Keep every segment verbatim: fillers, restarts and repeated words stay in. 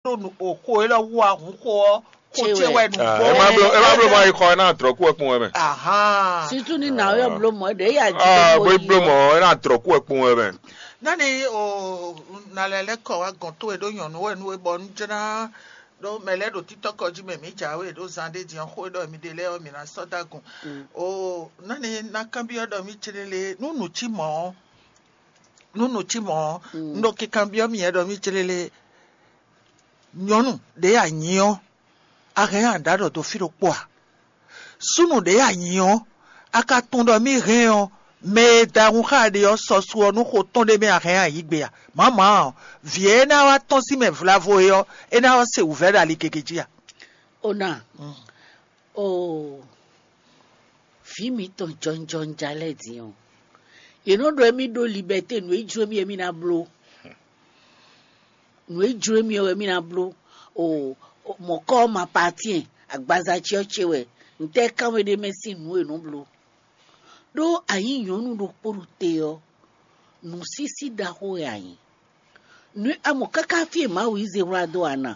ɖo nǔ o xo élɔ́ wú a, hun xo ɔ́, xo Cé ce wɛ. Wɛ nǔ Ah, gbɔn. Ema blo, ema blo ma yi xɔ ena drɔku wɛ kpɔn wɛ mɛ. Ahan. Situ ni na yɔ blo mɔ ɖe ya ji Ah, bó blo mɔ ena drɔku wɛ kpɔn wɛ mɛ. Nani o, na lɛ lɛ kɔ wa gɔn to e ɖo nyɔnu wɛ nu e bɔ nu jɛna ɖo mɛ lɛ ɖo titɔ kɔ ji mɛ mi ja we ɖo zan ɖe diɔ xo e ɖɔ mi ɖe lɛ ɔ mi na sɔ da gun. O nani na kanbiɔ ɖɔ mi cele le nu nu ci mɔ ɔ, nu nu ci mɔ ɔ, nu ɖo kikanbiɔ mi yɛ ɖɔ mi cele le nyɔnu ɖe ya nyi ɔ, a hɛn a ɖa ɖɔ do fi ɖokpó a? Súnnu ɖě a nyǐ ɔ́, a ka tunwun ɖɔ mì hɛn ɔ́, mɛ e da hun xá ɖe ɔ́ sɔ́ su ɔ́ nú xo tɔn ɖé mɛ a hɛn a yǐ gbe a? Mǎmǎ ɔ́, vǐ e é ná wá tɔ́n sín mɛ vlavo é ɔ́, é ná wá se wǔvɛ́ ɖo ali gěgé jí a? Ona, o vǐ mǐtɔn jɔnjɔnja lɛ́ɛ din ɔ́, yě nɔ ɖɔ émí ɖó libɛ́té nǔ e jló émí émí ná bló. Nǔ e jló émí ɔ́ wɛ mì ná bló. O mɔ̌kɔ ɔ́ ma patíɛn, agbaza ce ɔ́ ce wɛ, ntɛ́ kánwé ɖé mɛ sín nǔ e nǔ bló. Ɖó a nyǐ nyɔ̌nu ɖokpó ɖo te ɔ́, nǔsísí ɖaxó wɛ a nyǐ. Nǔ a mɔ káká fí e Mawu yí zé wlá dó a na?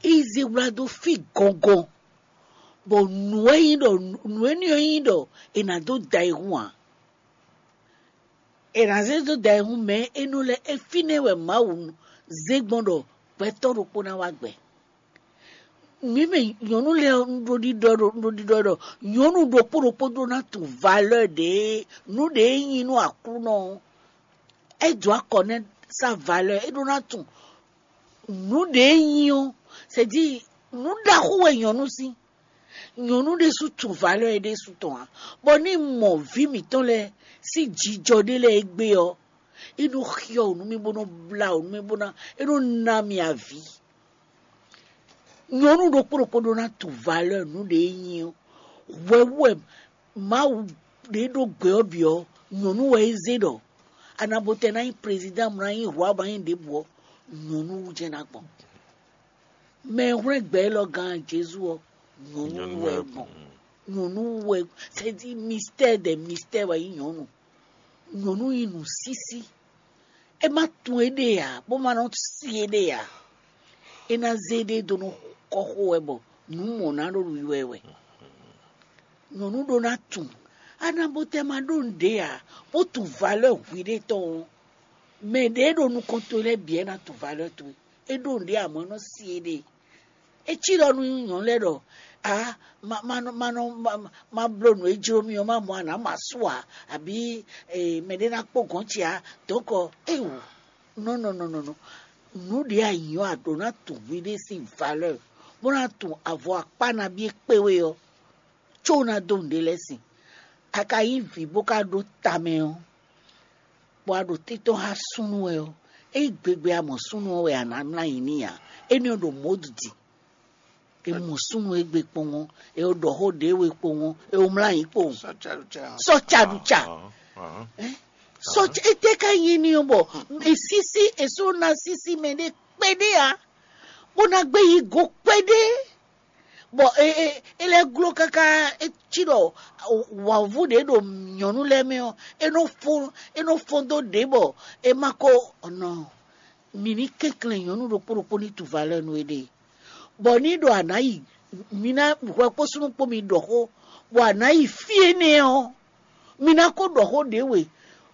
Yí zé wlá dó fí gɔngɔn, bɔ nǔ e nyí ɖɔ nǔ énɛ́ ɔ́ nyí ɖɔ è nǎ dó da yi hun ǎ. È nǎ zé dó da yi hun mɛ e é nɔ lɛ́ é fínɛ́ wɛ Mawu zé gbɔn ɖɔ gbɛtɔ́ ɖokpó ná wá gbɛ. Mǐ mɛ nyɔ̌nu lɛ́ɛ ɔ́, un ɖo ɖiɖɔ ɖo un ɖo ɖiɖɔ ɖɔ nyɔ̌nu ɖokpó ɖokpó ɖó ná tunwun valeur ɖě nǔ ɖě e nyí nú Aklúnɔ ɔ́. É dǒ akɔ nɛ́ sá valeur, é ɖó ná tunwun nǔ ɖě e nyí ɔ́. C'est-à-dire nǔ ɖaxó wɛ nyɔ̌nu sín. Nyɔ̌nu ɖésú tunwun valeur é ɖésú tɔn ǎ, bɔ ní mɔ vǐ mǐtɔn lɛ́ɛ sín jijɔ ɖé lɛ́ɛ égbé ɔ́, é nɔ xyɔ wǔ nú mì bó nɔ blá wǔ nú mì bó ná é nɔ ná mì avǐ. Nyɔ̌nu ɖokpó ɖokpó ɖó ná tunwun valeur nǔ ɖě é nyí ɔ́. Hwɛ wú wɛ Mawu ɖě ɖó gbɛ ɔ́ bǐ ɔ́, nyɔ̌nu wɛ é zé ɖɔ anabotɛ ná nyí prezidán, ná nyí hwǎ, ná nyí ɖěbǔ ɔ́, nyɔ̌nu wú jɛ́n ná gbɔn. Mɛ e hwlɛ́n gbɛ élɔ́ gán Jezu ɔ́, nyɔ̌nu wɛ gbɔn. Nyɔ̌nu wɛ, c'est-à-dire mystère des mystères wɛ nyí nyɔ̌nu. Nyɔ̌nu nyí nǔsísí. É má tunwun éɖée ǎ, bó má nɔ sí éɖée ǎ. É ná zé éɖée dó nɔ kɔ xo wɛ bɔ nǔ mɔ ná ɖo wiwa ɛ wɛ. Nyɔ̌nu ɖó ná tunwun. Anabotɛ ma ɖó nǔɖé ǎ, bó tunwun valeur hwiɖée tɔn ɔ́, mɛ ɖě e ɖo nukɔn towe lɛ́ɛ bǐ wɛ ná tunwun valeur towe. É ɖó nǔɖé ǎ, mɔ̌ é nɔ sí éɖée. É cí ɖɔ nú nyɔ̌nu lɛ́ɛ ɖɔ: "A ma ma nɔ ma nɔ ma ma bló nǔ e jló mì ɔ́, ma mɔ a nǎ ma sú ǎ, abǐ mɛɖé ná kpó gɔ̌n ce ǎ." Dɔ̌nkɔ éwu nɔ nɔ nɔ nɔ nɔ nǔ ɖě a nyǐ ɔ́, a ɖǒ ná tunwun hwiɖée sín valeur, bó ná tunwun avɔ akpá nabí e kpé we ɔ́, có ná dó nǔɖé lɛ́ɛ sin. A ka nyí vǐ bó ka ɖó tamɛ ɔ́, bɔ a ɖo títɔn xá súnnu wɛ ɔ́, ényí gbegbe a mɔ súnnu ɔ́ wɛ a nǎ mlá nyi n'i ǎ. Énɛ́ ɔ́ ɖo mɔ̌ ɖi. È mɔ súnnu égbé kpowun, è ɖɔ xó ɖě we kpowun, è mlá nyi kpowun. Sɔ caɖuca. Sɔ ca ɖu ca. Sɔ ca, étɛ́ ka nyí ní ɔ́ bɔ è sísí, è só ná sísí mɛ ɖé kpɛɖé ǎ, bó ná gbé yi go kpɛɖé. Bɔ é é é lɛ́ gló káká, é cí ɖɔ wǎvú ɖě ɖo nyɔ̌nu lɛ́ɛ mɛ ɔ́, é nɔ fó é nɔ fɔ́n dó ɖě bɔ é ma ko nɔ mǐ ní kɛnklɛ́n nyɔ̌nu ɖokpó ɖokpó ní tu valeur nú éɖée. Bɔ ní ɖɔ a nǎ yi, mi ná hwɛ kpó súnnu kpó mi ɖɔ xó, bɔ a nǎ yi fí énɛ́ ɔ́, mi ná ko ɖɔ xó ɖě we.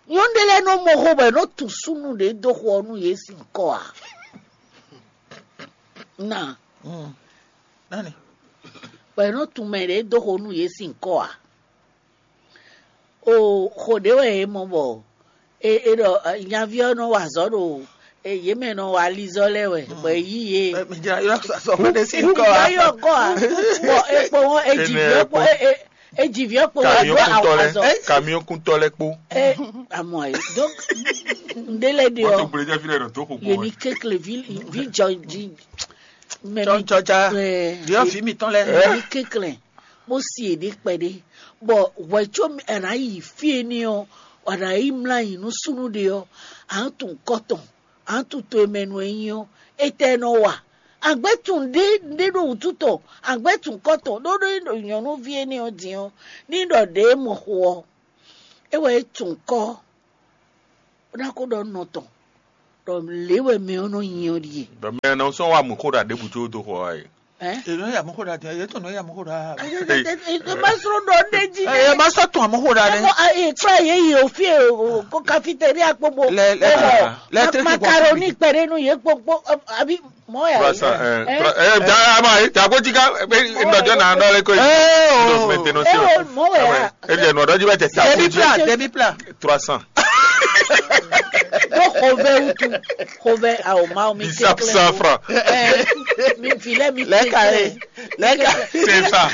Nyɔ̌nu ɖé lɛ́ɛ nɔ mɔ xó bɔ è nɔ tunwun súnnu ɖě dó xo ɔ́ nú yě sín kɔ ǎ. Na Nani? Bɔ è nɔ tunwun mɛ ɖě dó xo nú yě sín kɔ ǎ. O xo ɖě wɛ è mɔ bɔ è è ɖɔ nyaví ɔ́ nɔ wa azɔ̌ ɖo yě mɛ nɔ wa alizɔ́ lɛ́ɛ wɛ, bɔ è yí yě. Mɛ jra yɔ sɔ fún ɖé sí nkɔ Wúgbá a. Yɔ kɔ a, bɔ ekpo wọn eji Enɛ viɔ kpo kpo. E- e- eji viɔ kpo wa Kamiɔn dó kuntɔ lɛ, azɔ. Kamiɔn kuntɔ lɛ kpo. E amɔ ayi donc nɖe lɛ de Wọ́n tó ɔ gbele jẹ́ fílẹ̀ nù tó kò yé gbó ni wẹ̀. Kékle vi vi jɔ ji mɛ mi Jɔjɔja. Ɛ, Viɔ vi mi tɔn lɛ. Mɛ mi kékle bó si èɖé kpɛɖé bɔ hwɛ̌ có mi- è nǎ yi fí e ní ɔ́, è nǎ yi mlá yi nú súnnu ɖe ɔ́, à ń tun kɔ́tɔn, à ń tun to e mɛ nu e nyí ɔ́, étɛ́ nɔ wa? Àgbɛ́ tun ɖé ɖé ɖo wǔtu tɔn, àgbɛ́ tun kɔ́tɔn ɖó ɖó ɖo nyɔ̌nuví énɛ́ ɔ́ din ɔ́, ní ɖɔ ɖě mɔ xo ɔ́, é wɛ é tun kɔ́ bó ná kó ɖɔ nɔ tɔn. Lě wɛ mɛ ɔ́ nɔ nyi ɔ́ ɖíe. Bɔ mɛ nɔ sɔn wa mú xó ɖa ɖěbǔ có dó xɔ wá e. Ɛ? Èló yà mú xó ɖa tɛ, ètò nɔ yà mú xó ɖa. Ẹ má sọ̀rọ̀ ɖɔ ɖé jí. Ẹ má sọ tún àmú xó ɖa Ẹ nẹ. Mọ ẹ kura yẹ yẹ òfin ẹ o ko cafeteria kpogbo. Lẹ- lẹ- lẹ- lẹ- Macaroni pẹ̀lú nu yẹ kpogbo àbí mọ ẹ. Trois cents, euh, trois- euh, da- ama ye ta ko tika nɔjɔ na nɔ le ko. Ẹ o. Maintenance. Ẹ o mọ ẹ. E de nɔ dɔji bɛ tɛ ta. Demi pla, demi pla. Trois cents. Ɖo xovɛ wutu, xovɛ ao Mawu mi Bisap kéklé. Cent francs. Ɛ, mi vi lɛ mi Lɛka kéklé. Ye. Lɛka. C'est ça.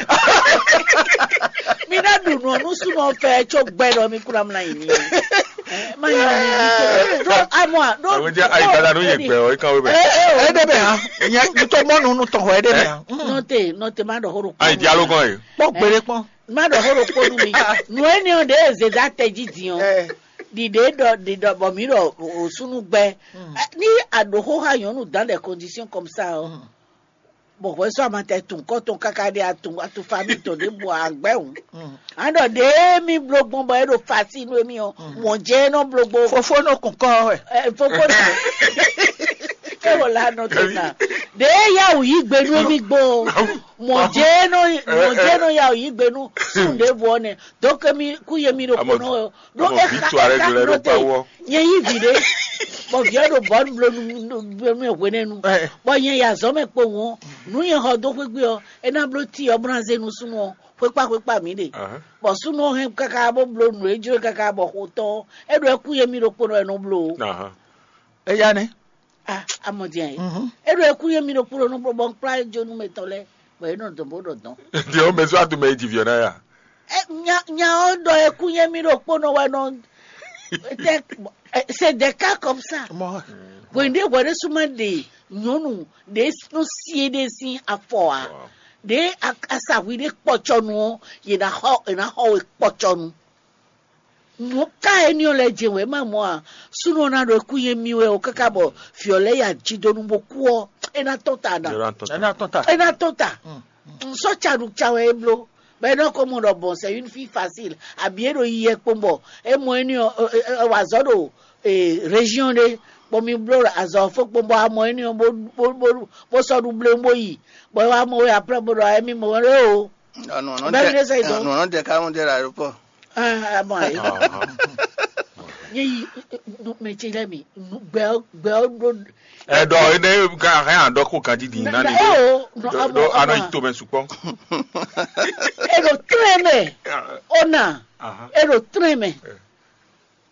Mi ná ɖu nɔ nú súnɔ fɛ tso gbɛ ɖɔ mi kúra mla yi ni. Ɛ, ma yi ni mi tó. Ɖo amɔ a ɖo. Àwọn jẹ́ àyípadà ló yẹ gbẹ ọ̀ ìkan wé bẹ̀. Ẹ dẹ́ bẹ̀ hàn. Ìyẹn mi tó mọ́nu nu tọ̀ ẹ̀ dẹ́ bẹ̀ hàn. Nɔte nɔte ma ɖɔ horo. Ayi dialogue kan ye. Kpɔ́ gbére kpɔ́n. Má ɖɔ xó ɖokpó nú mi. Nǔ énɛ́ ɔ́ ɖě e zědá tɛjí din ɔ́, ɖiɖě ɖɔ ɖiɖɔ bɔ mǐ ɖɔ òsúnú gbɛ. Ní a ɖǒ xó xá nyɔ̌nu dans des conditions comme ça ɔ́, bɔ hwɛsó amatɛ tun kɔ tɔn káká ɖé atun atu famille tɔn ɖěbǔ agbɛ́ hǔn. A ɖɔ ɖě mì bló gbɔn bɔ é ɖo fasi nú émí ɔ́, mɔ̌ jɛ é nɔ bló gbɔn. Fofó nɔ kún kɔ wɛ. Ɛ, fofó nɔ. É wò la nɔ tó na. Ɖě yá wǔ yí gbe nú émí gbɔn ɔ́. Mɔ̌ jɛ é nɔ mɔ̌ jɛ é nɔ yá wǔ yí gbe nú sún ɖěbǔ ɔ́ nɛ. Donc mi kú yé mi ɖo kpo nɔ wɛ. Ɖó é xa é xa nɔ te. Nyɛ yí vǐ ɖé. Bɔ vǐ ɔ́ ɖo bɔ̌ bló nú nú hwenɛ́nu. Bɔ nyɛ yi azɔ̌ mɛ kpowun ɔ́, nǔ nyɛ xɔ dó xwé gbe ɔ́, é ná bló ti ɔ́ bó ná zé nú súnnu ɔ́ xwékpá xwékpá mǐ ɖe. Bɔ súnnu ɔ́ hɛn káká bó bló nǔ e jló káká bɔ xo tɔn ɔ́, é ɖo ɛkú yé mì ɖokpónɔ wɛ nɔ bló o. Eya nɛ́. Ah, amɔdian yɛ. É ɖo ɛkú yé mì ɖokpónɔ nɔ bló bɔ un kplá jónú mɛ tɔn lɛ́ɛ, bɔ é nɔ dɔn bó ɖɔ dɔn. Diɛ o mɛ sɔ atu mɛ yi ji viɔ na ya. Nya nya ɔ́ ɖɔ ɛkú yé mì ɖokpónɔ wɛ nɔ. C'est des cas comme ça. Hwɛ̌nɖé hwɛ̌ɖé súnmọ́ ɖe nyɔ̌nu ɖě nɔ sie ɖé sín afɔ ǎ. Ɖě asahwi ɖé kpɔcɔnu ɔ́, yě ná xɔ yě ná xɔ we kpɔcɔnu. Nǔ ká éní ɔ́ lɛ́ jɛ wɛ má mɔ a? Súnnu ɔ́ ná ɖo kú yé mì wɛ o káká bɔ vǐ ɔ́ lɛ́ ya jí dó nú bó kú ɔ́, é ná tɔ́n ta ná. Ɛ ná tɔ́n ta. É ná tɔ́n ta. Un sɔ́ caɖu ca wɛ é bló. Bɔ é nɔ ko mɔ ɖɔ bɔn c'est une fille facile. Abi é ɖo yi yɛ kpɔn bɔ é mɔ éní ɔ́ é wá zɔ ɖo région ɖé. Bɔ mi bló azɔ fó kpɔn bɔ a mɔ éní ɔ́ bó bó bó bó sɔ́ ɖu bléwún bó yi. Bɔ é wá mɔ wɛ après bó ɖɔ émí mɔ wɛ o. Bɛ́ mi ɖésɛ yi dɔn. Nɔnɔ dɛ ká ŋu dɛ la ɖo pɔ. Ah, ah, bon, ayi. Ye yi mɛ ce lɛ mi gbɛ gbɛ ɖo. Ɛdɔ ene ka hɛn adɔ ko kan didi na ni. Eo no abo do ano ito mɛ sukpɔ. Eɖo trɛn mɛ ona. Eɖo trɛn mɛ.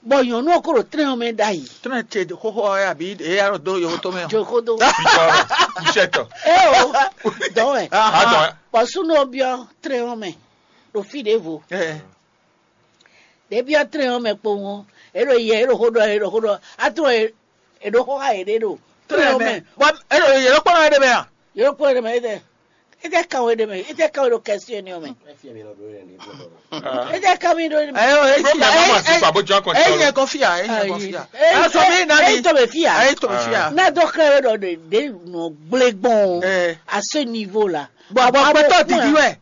Bɔ nyɔnu ɔkɔ ɖo trɛn mɛ ɖayi. Trɛn ce xoxo ɔ́ abi eya ɖo do yovo to mɛ. Jokodo. Kushɛtɔ. Eo dɔwɛ. Adɔ. Bɔ sunu obiɔ trɛn mɛ ɖo fi ɖevo. Ɖebiɔ trɛn ɔ́ mɛ kpowun ɔ́, é ɖo yɛ é ɖo xó ɖɔ é ɖo xó ɖɔ atrɔ é ɖo xó xá yě ɖé ɖo trɛn ɔ́ mɛ. Bɔ é ɖo yě ɖo kpɔ́n ɛ ɖe mɛ a? Yě ɖo kpɔ́n ɛ ɖe mɛ é tɛ é tɛ kan wé ɖe mɛ é tɛ kan wé ɖo kɛsí ɛni ɔ́ mɛ. É tɛ kan mi ɖo ɛni mɛ. Ayo, é Problem ma ma si fa bó jɔ kɔn. É yẹ kɔ fia, é yẹ kɔ fia. Ɛ sɔ mi na ni. É tɔ bɛ fia. É tɔ bɛ fia. N'a dɔ xlɛ wé ɖɔ ɖe ɖe nɔ gblé gbɔn à ce niveau là. Bɔn bɔn gbɛtɔ didi wɛ.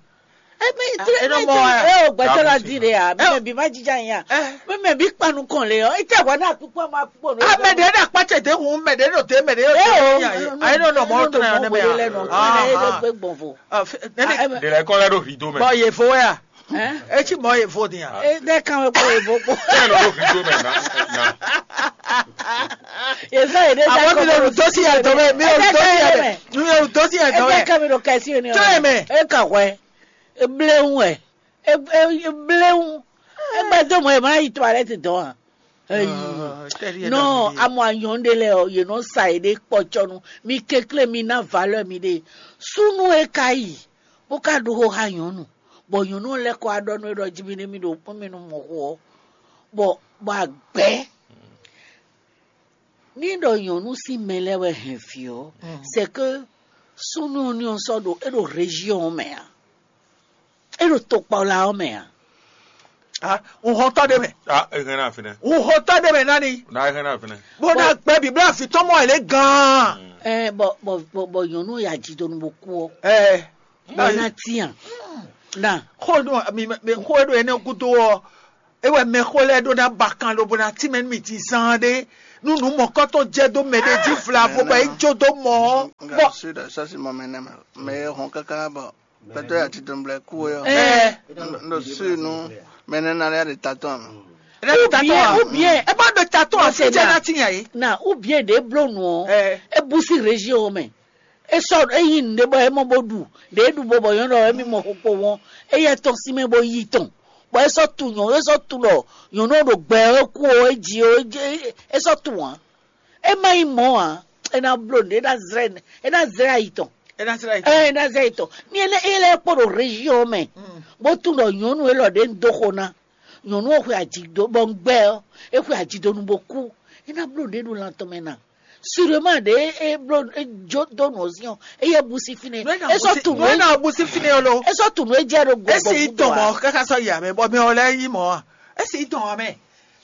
Emi tiri mi tiri eo gbɛtɔ la di de ya mɛ bi ma jija nya mɛ bi kpanu kɔn le yɔ ite wa na kpikpɔ ma kpikpɔ no. Mɛ de na kpatse de hun mɛ de no de mɛ de yo de ya ye ayi no nɔ mɔ tɔn ya ne mɛ ya. Ele gbe gbɔnvo. De la kɔ la ɖo hwi do mɛ. Bɔn ye fo ya. Etsi mɔ ye fo di ya. E de kan we kpɔ ye fo kpɔ. Ɛ lɔ ɖo hwi do mɛ na na. Ye fɛ ye de da kɔ. Awɔ mi lɛ lu dosi ya dɔ mɛ mi lɛ lu dosi ya dɛ mi lɛ lu dosi ya dɔ mɛ. E de kan mi ɖo kɛsi ni o. Tɔ ye mɛ. E ka hwɛ. Ebléwu wɛ. Ebléwu. Egbe do mɔ ema yi toilette dɔn a. Eyi. Nɔ amɔ anyɔn ɖe lɛ ɔ, yě nɔ sa yě ɖe kpɔtsɔnu. Mi kekle mi ná valeur mi ɖe. Sunu e ka yi, bó ka ɖo xó xá nyɔnu, bɔ nyɔnu lɛ kɔ aɖɔ nú é ɖɔ jí mi nɛ mi ɖo kpɔ́n mi nú mɔ xó ɔ, bɔ bɔ agbɛ. Ní ɖɔ nyɔ̌nu sín mɛ lɛ́ɛ wɛ hɛn vǐ ɔ́, c'est que súnnu ɔ́ ní ɔ́ sɔ́ ɖo é ɖo région ɔ́ mɛ ǎ, é ɖo tokpɔla ɔ́ mɛ ǎ. Ah, un xɔtɔ́ ɖé mɛ. Ah, e hɛn na fínɛ. Un xɔtɔ́ ɖé mɛ nani. Na e hɛn na fínɛ. Bó ná gbɛ bíblá fi tɔn mɔ ɛ lé gan. Ɛ bɔ bɔ bɔ bɔ nyɔ̌nu ya jí donu bó kú ɔ. Ɛ. Bɔ na tiyan. Na. Xó ɖo mi mi xó ɖo ɛnɛ gúdo ɔ. Ewɛ mɛxó lɛ́ɛ ɖó ná ba kan lobo ná tínmɛ nú mì zán ɖé, nú nǔ mɔ̌kɔ́tɔn jɛ dó mɛ ɖé jí vlavo bɔ é jó dó mɔ ɔ́. Bɔ sud sɔ́si mɔ mɛ nɛ́ mɛ mɛ e hɔn káká bɔ gbɛtɔ́ ya titun blɛ kú é ɔ́. Ɛɛ, ɖo sud nú mɛ nɛ́ ná lɛ́ ɖe tatɔ́ mɛ. Ou bien, ou bien, é bá ɖo tatɔ́ ɔ́, fí jɛ ná tinya yé. Na ou bien ɖě bló nǔ ɔ́, é bú sí région ɔ́ mɛ. É sɔ́ é yi nǔɖé bɔ é mɔ bó ɖu, ɖě é ɖu bo bɔ nyɔ̌nu ɔ́ émí mɔ xokpo wɔn, éyɛ́ tɔn sín mɛ bó yi tɔn, bɔ é sɔ́ tunwun nyɔ̌nu, é sɔ́ tunwun ɖɔ nyɔ̌nu ɔ́ ɖo gbɛ ɔ́ kú ɔ́, é ji ɔ́, é ji- é- é sɔ́ tunwun ǎ. É má nyí mɔ̌ ǎ, é ná bló nǔɖé, é ná zlɛ́ é ná zlɛ́ ayi tɔn. É ná zlɛ́ ayi tɔn. Ɛ é ná zlɛ́ ayi tɔn. Ní é lɛ́ é lɛ́ kpɔ́ ɖo région ɔ́ mɛ, bó tunwun ɖɔ nyɔ̌nu élɔ́ ɖě un dó xo ná, nyɔ̌nu ɔ́ xwe aji dó bɔ un gbɛ ɔ́, é xwe aji dó nu bó kú. É ná bló nǔɖé ɖo lan tɔn mɛ ná. Sûrement ɖě é bló é jó dó nǔ ɔ́ sín ɔ́, éyɛ́ bú sí fínɛ́. É sɔ́ tu nǔ é ná bú sí fínɛ́ ɔ́ lo. É sɔ́ tu nǔ é jɛ ɖo gbɔgbɔ. É sì tɔn mɔ̌ káká sɔ́ yi amɛ bɔ mɛ ɔ́ lɛ́ nyí mɔ̌ a? É sì tɔn amɛ.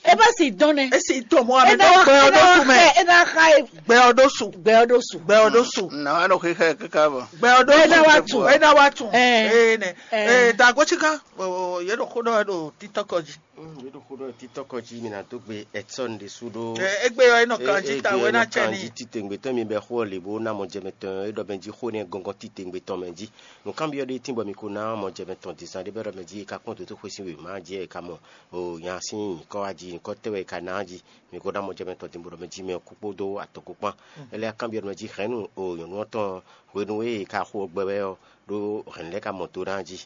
É bá sì dɔn nɛ. É sì tɔn mɔ̌ amɛ. É ná wá gbɛ ɔ́ é ná ɖó wá su mɛ. Xɛ é ná xa é Gbɛ ɔ́ ɖó su. Gbɛ ɔ́ ɖó su. Gbɛ ɔ́ ɖó su. Nà wá ɖo xixɛ kíkà bɔ. Gbɛ ɔ́ ɖó su. É ná wá tu. É ná wá tun. Ɛ. Ee nɛ. Ɛ. Ee, da gosika. Yě ɖo xó ɖɔ wɛ ɖo títɔ́kɔ jí. Yě ɖo xó ɖɔ títɔ́kɔ jí mi ná dó gbe Edson ɖésú ɖó. Ɛ, égbé ɔ́, é nɔ kan jí ta wɛ ná cɛ ní. Títɛ̀ngbétɔ́ mi bɛ xó ɔ́ lě bó ná mɔ jɛmɛ tɔn é ɖɔ mɛ jí xó nɛ́ gɔngɔn títɛ̀ngbétɔ́ mɛ jí. Nǔkanbyɔ́ ɖé tín bɔ mi ko ná mɔ jɛmɛ tɔn dízan ɖé bɛ ɖɔ mɛ jí é ka kpɔ́n dǒtó xwé sín wěma jí é ka mɔ. O nya sín nyǐkɔ wá jí, nyǐkɔ tɛ́ wɛ é ka ná jí. Mi ko ná mɔ jɛmɛ tɔn dín bó ɖɔ mɛ jí mɛ ɔ́ kú kpódó atɔn kpó kpán. Énɛ́ ɔ́ kanbyɔ́ ɖɔ mɛ jí hɛ̌nnu o nyɔ̌nu ɔ́ tɔn hwenu e è ka xo gbɛ wɛ ɔ́ ɖó hɛ̌nnu lɛ́ɛ ka mɔ do ná jí.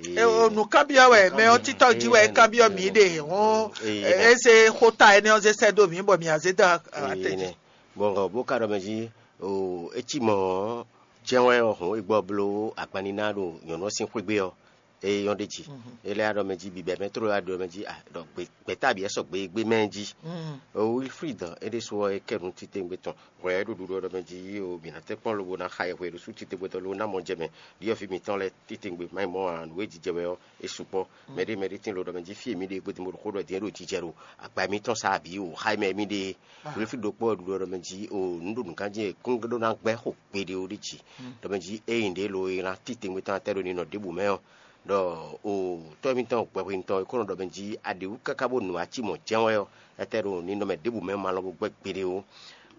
E o nǔkanbyɔ́ wɛ mɛ ɔ́ títɔ́ jí wɛ é kanbyɔ́ mǐ ɖe hɔn. É zé xóta énɛ́ ɔ́ zé sɛ́ dó mǐ bɔ mǐ á zé dó atɛ́ jí. Bɔn bó ka ɖɔ mɛ jí o é cí mɔ̌ ɔ́, jɛ́n wɛ ɔ́ hɔn é gbɔ bló agbanníná ɖo nyɔ̌nu ɔ́ sín xwé gbe ɔ́, é nyɔ́ ɖ'é jí. É lɛ́ ɖɔ mɛ jí bibɛ mɛ tló wá ɖɔ mɛ jí, ah, ɖɔ gbě- gbɛ̌ta bǐ wɛ sɔgbe gbé mɛ jí. Wilfrid, é ɖésú ɔ́, é kɛ nǔ titewungbe tɔn hwɛ é ɖo ɖuɖu ɔ́ ɖɔ mɛ jí o mǐ ná tɛ́ kpɔ́n lobo ná xa yɛhwe ɖo sú titewungbe tɔn lobo ná mɔ jɛ mɛ ɖyɔ̌vǐ mǐtɔn lɛ́ɛ titewungbe má nyí mɔ̌ ǎ, nǔ e jijɛ wɛ ɔ́ é sukpɔ́. Mɛɖé mɛɖé tín lo ɖɔ mɛ jí fí e mǐ ɖe gbedun bó ɖo xó ɖɔ din é ɖo jijɛ ɖo agba mǐtɔn sá bǐ o xá mɛ mǐ ɖe. Wilfrid ɖokpó ɔ́ ɖuɖu ɔ́ ɖɔ mɛ jí o nǔ ɖo nǔgán jí e kún ɖó ná gbɛ́ xo gbeɖé ó ɖi jí. Ɖɔ mɛ jí ényí ɖě lo e ná titewungbe tɔn atɛ ɖo ninɔ ɖěbǔ mɛ ɔ́, ɖɔ o tɔ́ mǐtɔn gbɛhwenu tɔn e kó nɔ ɖɔ mɛ jí a ɖe wú káká bó nu ací mɔ̌ jɛ́n wɛ ɔ́, etɛ́ ɖo ninɔmɛ ɖěbǔ mɛ ma lɔ bó gbɛ́ gbeɖé ó.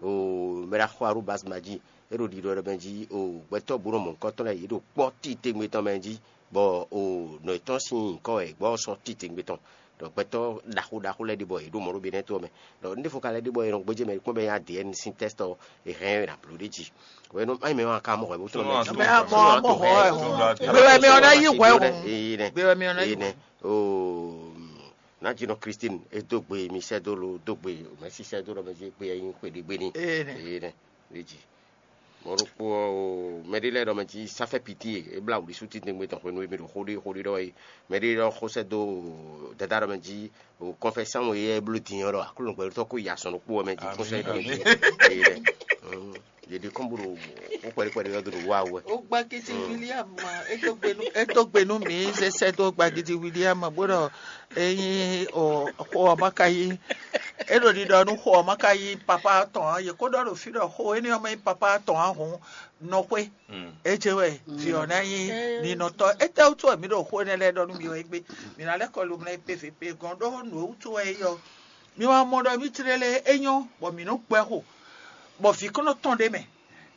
O mɛ ɖaxó Arúbas ma jí é ɖo ɖiɖɔ ɖɔ mɛ jí o gbɛtɔ́ bó nɔ mɔ nukɔn tɔn lɛ́ɛ yě ɖo kpɔ́ titewungbe tɔn mɛ jí, bɔ o nɔ yětɔn sín nyǐkɔ wɛ gbɔ sɔ́ titewungbe tɔn. Ɖɔ gbɛtɔ́ ɖaxó ɖaxó lɛ́ɛ ɖi bɔ yě ɖo mɔ̌ ɖo Benɛ́to ɔ́ mɛ. Ɖɔ un ɖěvo ka lɛ́ ɖi bɔ è nɔ gbéjé mɛ kpɔ́n bɔ é nyí A D N sín tɛ́st ɔ́, è hɛn ɛ nǎ bló ɖ'é jí. Hwenu é nyí mɛ wá ka mɔ hwɛ bó tlɔ́n mɛ jí. Mɛ a mɔ a mɔ hwɛ hwɛ hɔn. Gbe wɛ mɛ ɔ́ ná yí hwɛ hɔn. Gbe wɛ mɛ ɔ́ ná yí hwɛ. Nǎjínɔ Christine é dó gbe mi sɛ́ dó lo dó gbe mɛ̌si sɛ́ dó ɖɔ mɛ jí gbe ɛ nyí xwe ɖé gbe ní. Ee nɛ. Ee nɛ. Ɖ'é jí. Mɔ̌ ɖokpó ɔ́, o mɛɖé lɛ́ɛ ɖɔ mɛ jí sáfɛ piti e é blá wǔɖí sú titewungbe tɔn hwenu e mi ɖo xó ɖé xó ɖé ɖɔ é. Mɛɖé ɖɔ xó sɛ́ dó dada ɖɔ mɛ jí o kɔnfɛsán e é bló din ɔ́ ɖɔ Aklúnɔ gbɛɖótɔ́ kó yi azɔn ɖokpó ɔ́ mɛ jí kó sɛ́ ɖɔ mɛ jí. Ee ɖɛ. Yě ɖi kɔn bó ɖo xó kpɛɖé kpɛɖé ɔ́ dó ɖo wá wɛ. Ó gbá kiti William ma, é dó gbe nú é dó gbe nú mǐ zé sɛ́ dó gbagidi William bó ɖɔ é nyí o xó ɔ́ ma ka yí é ɖo ɖiɖɔ nú xó ɔ́ ma ka yí papa tɔn ǎ. Yě kó ɖɔ ɖo fí ɖɔ xó énɛ́ ɔ́ ma nyí papa tɔn ǎ hǔn nɔ xwé. É jɛ wɛ vǐ ɔ́ ná nyí ninɔtɔ́. Étɛ́wútu wɛ mǐ ɖo xó énɛ́ lɛ́ɛ ɖɔ nú mi ɔ́ égbé? Mǐ ná lɛ́ kɔ lomlɛ kpé fě kpé gɔ́n ɖó nǔ e wútu wɛ é yɔ. Mi wá mɔ ɖɔ mí tlélé é nyɔ́ bɔ mǐ nɔ́ gbɛ́ xo, bɔ vǐ kɔn nɔ tɔn ɖ'é mɛ.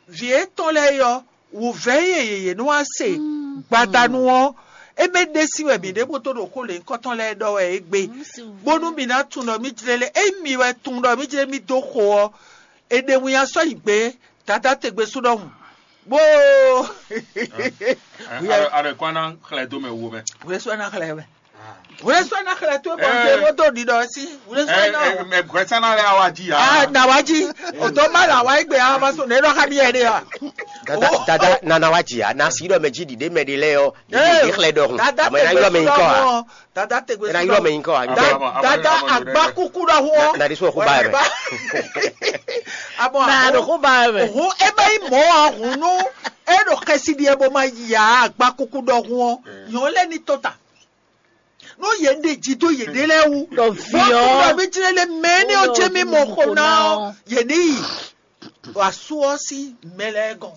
Vǐ étɔn lɛ́ɛ é yɔ, wǔvɛ́ e yě yě nɔ wá se gbadanu ɔ́, é mɛ ɖésí wɛ mǐ ɖe bó tó ɖo xó lěhunkɔtɔn lɛ́ɛ ɖɔ wɛ é gbe, bónú mǐ ná tunwun ɖɔ mí jlɛ́ lé. Ényí mi wɛ tunwun ɖɔ mí jlɛ́ mí dó xo ɔ́, è ɖe winnyá sɔ́ yi gbě Dadá tegbe sú ɖɔhun, bó. Alɔ kó ná xlɛ́ dó mɛ wo mɛ. Wlé sɔ́ ná xlɛ́ wɛ. Wlé sɔ́ ná xlɛ́ tó bɔ ŋdé wó dó ɖiɖɔ sí. Wlé sɔ́ ná. Mɛ gbɛsánná lɛ awa jí ya. Ah, na wa jí. O tó má la wa igbe awa ma so ne ɖɔ xa mi yɛ ɖe ya. Dada dada nana wa jia na si ɖɔ mɛ jí ɖiɖe mɛ ɖe lɛ yɔ ɖiɖe xlɛ ɖɔ hun. Dada amɛ na yɔ mɛ yin kɔ ha. Dada tegbe na yɔ mɛ yin kɔ ha. Dada agbakuku ɖɔ hun. Na de so xo ba yɛ mɛ. Abɔ na do xo ba yɛ mɛ. Hun ebe yi mɔ hun nu. E ɖo xɛsi ɖi ebo ma ya agbakuku ɖɔ hun. Yɔn lɛ ni to ta. Nú yě ɖe jí dó yěɖée lɛ́ɛ wú. Ɖɔ vǐ ɔ́, ɖɔ mí jlɛ́ lé mɛ énɛ́ ɔ́ jɛ mí mɔ xo ná ɔ́, yě ní yi ɖo asú ɔ́ sín mɛ lɛ́ɛ gɔ́n.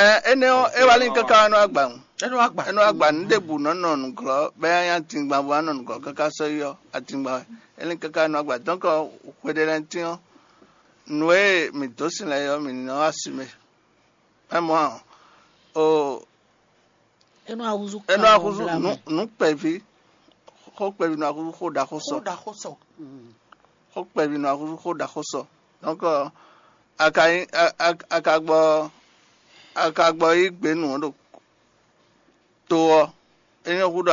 Ɛ, énɛ́ ɔ́, é wá lin káká wá nɔ agba ŋu. Enu agba. Énɛ́ agba nǔ ɖěbǔ nɔ nɔ nǔglɔ́ bɛ nya tingban bó wá nɔ nǔglɔ́ káká sɔ́ yi ɔ́, atingban wɛ. É lin káká nɔ agba. Donc hweɖé lɛ́ɛ tín ɔ́, nǔ e mǐ dó sin lɛ́ɛ ɔ́, mǐ ní nɔ wá asi mɛ. Mɛ mɔ ɔ́, o Enu ahúzú. énɛ́ ahúzú nǔ nǔ kpɛví. Xó kpɛví nɔ wá húzú xó ɖaxó sɔ. Xó ɖaxó sɔ. Xó kpɛví nɔ wá húzú xó ɖaxó sɔ. Donc, a ka nyí a- a- a ka gbɔ a ka gbɔ yí gbě nǔ ɔ́ ɖo to ɔ́, é nyɔ́ húɖɔ